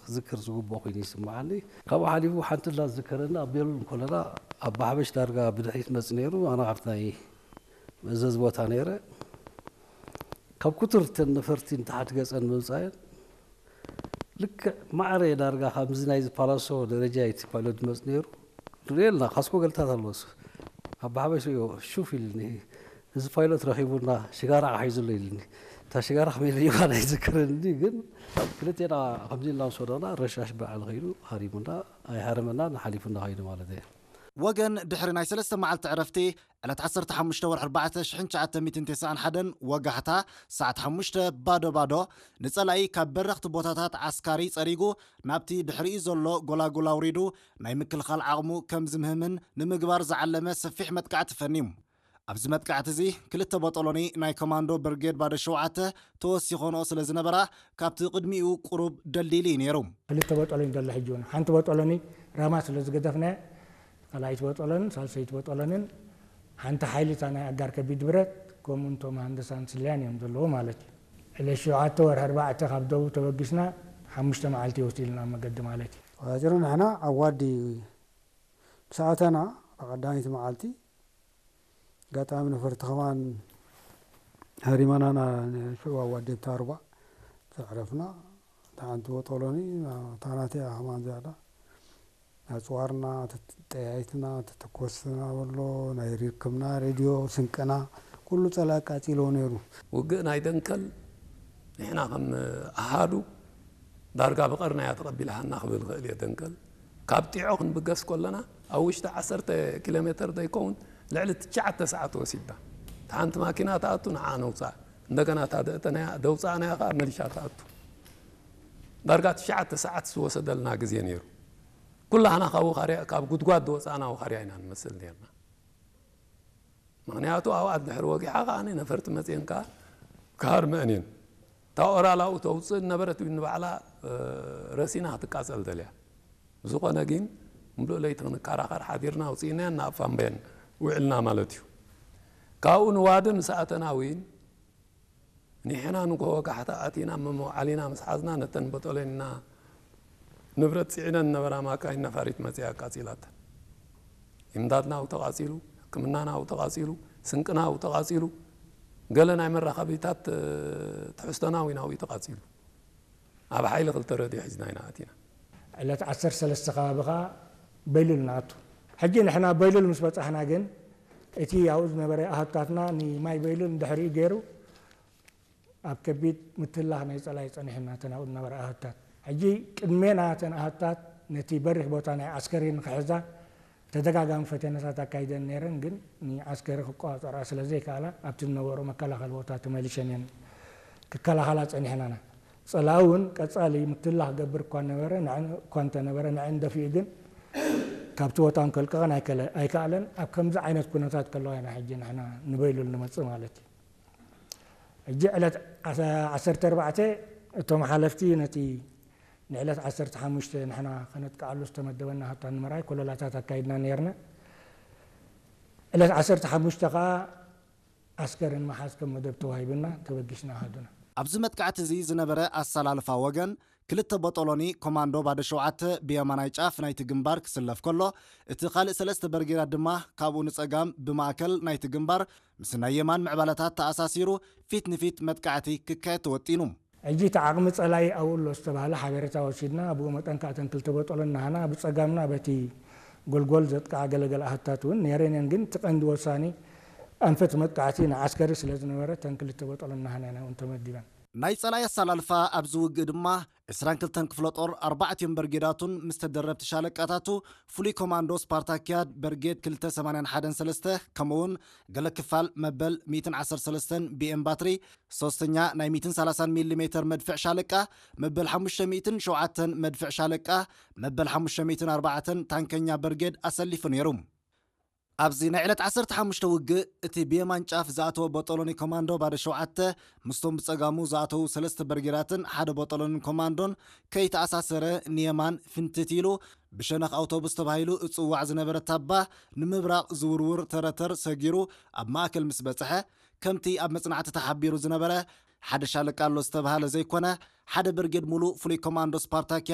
ክዝክር ዝግብኦ ኮይኑ ይስምዓኒ። ካብኡ ሓሊፉ ሓንቲ ላ ዝዝከረኒ ኣብ ቤሉል እንከለና ኣባ ሓበሽ ዳርጋ ብድሕሪት መጽእ ነይሩ። ኣነ ኣብቲ ናይ መእዘዚ ቦታ ነይረ። ካብ ኩትር እተን ነፈርቲ ንታሕቲ ገጸን ምምጻየን ልክዕ ማዕረ ዳርጋ ከምዚ ናይዚ ፓላሶ ደረጃ እቲ ፓይሎት ዝመጽእ ነይሩ። ንሪኦ ኣለና፣ ካስኮ ገልታት ኣለዎ። ኣባ ሓበሽ ሪኦ ሹፍ ኢልኒ፣ እዚ ፓይሎት ረኺቡና ሽጋራ ሒዙ ኣሎ ኢልኒ። እታ ሽጋራ ከመይ ኢለ ይኳን ኣይዝክርን፣ ግን ክልቴና ከምዚ ኢልና ምስ ወደቕና ረሻሽ በዓል ከይዱ ሃሪሙና፣ ኣይሃረመናን ሓሊፉና ከይዱ ማለት እዩ። ወገን ድሕሪ ናይ ሰለስተ መዓልቲ ዕረፍቲ ዕለት ዓሰርተ ሓሙሽተ ወርሒ ኣርባዕተ ሽሕን ትሽዓተ ሚእትን ተስዓን ሓደን ወጋሕታ ሰዓት ሓሙሽተ ባዶ ባዶ ንጸላኢ ካብ በረኽቲ ቦታታት ዓስካሪ ጸሪጉ ናብቲ ድሕሪኡ ዘሎ ጎላጉል ኣውሪዱ ናይ ምክልኻል ዓቕሙ ከም ዝምህምን ንምግባር ዝዓለመ ሰፊሕ መጥቃዕቲ ፈንዩ። ኣብዚ መጥቃዕቲ እዚ ክልተ ቦጦሎኒ ናይ ኮማንዶ ብርጌድ ባዶ ሸውዓተ ተወሲኾንኦ ስለ ዝነበራ ካብቲ ቅድሚኡ ቁሩብ ደልዲሉ እዩ ነይሩ። ክልተ ቦጦሎኒ ዘሎ ሕጂ እውን ሓንቲ ቦጦሎኒ ራማ ስለ ዝገደፍናያ ካልኣይቲ ቦጦሎንን ሳልሰይቲ ቦጦሎንን ሓንቲ ሓይሊ እታ ናይ ኣጋር ከቢድ ብረት ከምኡ እንቶም ሃንደሳን ስለያን እዮም ዘለዉ ማለት እዩ። ዕለት ሸውዓተ ወርሒ ኣርባዕተ ካብ ደቡብ ተበጊስና ሓሙሽተ መዓልቲ ይወስድ ኢልና ኣብ መገዲ ማለት እዩ። ዋጅሩ ንሕና ዓዋዲ ምስ ኣተና ብቐዳመይቲ መዓልቲ ኣጋጣሚ ነፈርቲ ከማን ሃሪመናና ንሽዑ ኣዋዲ ኣብታ ሩባ ዘዕረፍና። እታ ሓንቲ ቦጦሎኒ እታ ናተይ እያ ከማን ዝያዳ ኣጽዋርና ተጠያይትና ተተኮስና በሎ ናይ ርክብና ሬድዮ ስንቅና ኩሉ ጸላኢ ኣቃጺልዎ ነይሩ። ውግእ ናይ ደንከል ንሕና ከም ኣሃዱ ዳርጋ ብቐርናያ ተቐቢልሃና ክብል ክእል እየ። ደንከል ካብ ጢዖ ክንብገስ ከለና ኣብ ውሽጢ ዓሰርተ ኪሎ ሜተር ዘይከውን ልዕሊ ትሽዓተ ሰዓት ወሲድና። እታ ሓንቲ ማኪና ትኣቱ ንዓ ነውፅኣ፣ እንደገና እታ ደእተናያ ደውፃእናያ ከዓ መሊሻ ትኣቱ። ዳርጋ ትሽዓተ ሰዓት ዝወሰደልና ግዜ ነይሩ። ኩላህና ካብ ውኻርያ ካብ ጉድጓድ ዝወፃእና ውኻርያ ኢና ንመስል ነርና። ምኽንያቱ ኣብኣ ድሕሪ ወጊሓ ከኣ ነፈርቲ መፅየን ከኣ ክሃርመአን እየን። እታ ኦራል ኣብኡ ተውፅእ ዝነበረት እውን ንባዕላ ረሲና ክትቃፀል ደልያ። ብዝኾነ ግን ምሉእ ለይቲ ክንከራኸር ሓዲርና ኣውፂእናየን ናብ ፋምበየን ውዕልና ማለት እዩ። ካብኡ ንዋዲ ምስ ኣተና እውን ንሕና ንግሆ ወጋሕታ ኣቲና መመውዓሊና ምስ ሓዝና ነተን በጦሎኒና ንብረት ጽዒነን ዝነበራ ማካይን ነፋሪት መጺኣ ኣቃጺላተን። ኢምዳድና ኣብኡ ተቓጺሉ፣ ሕክምናና ኣብኡ ተቓጺሉ፣ ስንቅና ኣብኡ ተቓጺሉ፣ ገለ ናይ መራኸቢታት ትሕዝቶና እውን ኣብኡ ተቓጺሉ። ኣብ ሓይሊ ክልተ ረድዮ ሒዝና ኢና ኣቲና። ዕለት ዓሰርተ ሰለስተ ከባቢ ኸኣ በይሉል ንኣቱ። ሕጂ ንሕና በይሉል ምስ በጻሕና ግን እቲ ኣብኡ ዝነበረ ኣሃዱታትና ንማይ በይሉል ንድሕሪኡ ገይሩ ኣብ ከቢድ ምትላኽ ናይ ጸላኢ ጸኒሑና እተን ኣብኡ ዝነበራ ኣሃዱታት። ሕጂ ቅድሜና እተን ኣሃዱታት ነቲ በሪኽ ቦታ ናይ ዓስከሪ ንኽሕዛ ተደጋጋሚ ፈተነታት ኣካይደን ነይረን፣ ግን ንዓስከሪ ክቆጻጸራ ስለ ዘይከኣላ ኣብቲ ዝነበሩ መከላኸሊ ቦታ ተመሊሸን እየን ክከላኸላ ጸኒሐናና። ጸላኢ እውን ቀጻሊ ምትላኽ ክገብር እኳ ነበረ፣ ንዐን እኳ እንተነበረ ንዐን ደፊኡ ግን ካብቲ ቦታ ከልቅቐን ኣይከለ-፣ ኣይከኣለን። ኣብ ከምዚ ዓይነት ኩነታት ከለዋ ኢና ሕጂ ንሕና ንበይሉል ንመጽእ ማለት እዩ። ሕጂ ዕለት ዓሰርተ ኣርባዕተ እቶም ሓለፍቲ ነቲ ንዕለት ዓሰርተ ሓሙሽተ ንሕና ከነጥቅዓሉ ዝተመደበና ሃብታ ንምርኣይ ኮለላታት ኣካይድና ነይርና። ዕለት ዓሰርተ ሓሙሽተ ከኣ ዓስከር ንምሓዝ ከም መደብ ተዋሂቡና ተበጊስና ኣሃዱና። ኣብዚ መጥቃዕቲ እዚ ዝነበረ ኣሰላልፋ ወገን ክልተ ቦጦሎኒ ኮማንዶ ባዶ ሸውዓተ ብየማናይ ጫፍ ናይቲ ግንባር ክስለፍ ከሎ፣ እቲ ካልእ ሰለስተ በርጌዳት ድማ ካብኡ ንጸጋም ብማእከል ናይቲ ግንባር ምስ ናይ የማን ምዕባለታት ተኣሳሲሩ ፊት ንፊት መጥቃዕቲ ክካየድ ተወጢኑ። ሕጂ እቲ ዓቕሚ ጸላኢ ኣብኡ ኣሎ ዝተባህለ ሓበሬታ ወሲድና፣ ብኡ መጠን ከኣ እተን ክልተ ቦጦሎኒ ናህና ብጸጋምና በቲ ጎልጎል ዘጥቅዓ ገለገለ ኣሃታት እውን ነይረን እየን። ግን እቲ ቀንዲ ወሳኒ ኣንፈት መጥቃዕቲ ንዓስከሪ ስለ ዝነበረ እተን ክልተ ቦጦሎኒ ናህና እየን እውን ተመዲበን። ናይ ጸላኢ ኣሰላልፋ ኣብዚ ውግእ ድማ ዕስራን ክልተን ክፍለ ጦር ኣርባዕቲኦም በርጌዳቱን ምስ ተደረብቲ ሻለቃታቱ ፍሉይ ኮማንዶ ስፓርታኪያድ በርጌድ ክልተ ሰማንያን ሓደን ሰለስተ ከምኡውን ገለ ክፋል መበል ሚእትን ዓሰርተ ሰለስተን ቢኤም ባትሪ ሶስተኛ ናይ ሚእትን ሰላሳን ሚሊ ሜተር መድፍዕ ሻለቃ መበል ሓሙሽተ ሚእትን ሸውዓተን መድፍዕ ሻለቃ መበል ሓሙሽተ ሚእትን ኣርባዕተን ታንከኛ በርጌድ ኣሰሊፉ ነይሩ። ኣብዚ ናይ ዕለት ዓሰርተ ሓሙሽተ ውግእ እቲ ብየማን ጫፍ ዝኣተወ ቦጦሎኒ ኮማንዶ ባዶ ሸውዓተ ምስቶም ብጸጋሙ ዝኣተዉ ሰለስተ በርጌዳትን ሓደ ቦጦሎንን ኮማንዶን ከይተኣሳሰረ ንየማን ፍንትት ኢሉ ብሸነኽ ኣውቶቡስ ተባሂሉ እጽዋዕ ዝነበረ ታባ ንምብራቕ ዝውርውር ተረተር ሰጊሩ ኣብ ማእከል ምስ በጽሐ ከምቲ ኣብ መጽናዕቲ ተሓቢሩ ዝነበረ ሓደ ሻለቃ ኣሎ ዝተባህለ ዘይኮነ ሓደ ብርጌድ ሙሉእ ፍሉይ ኮማንዶ ስፓርታኪያ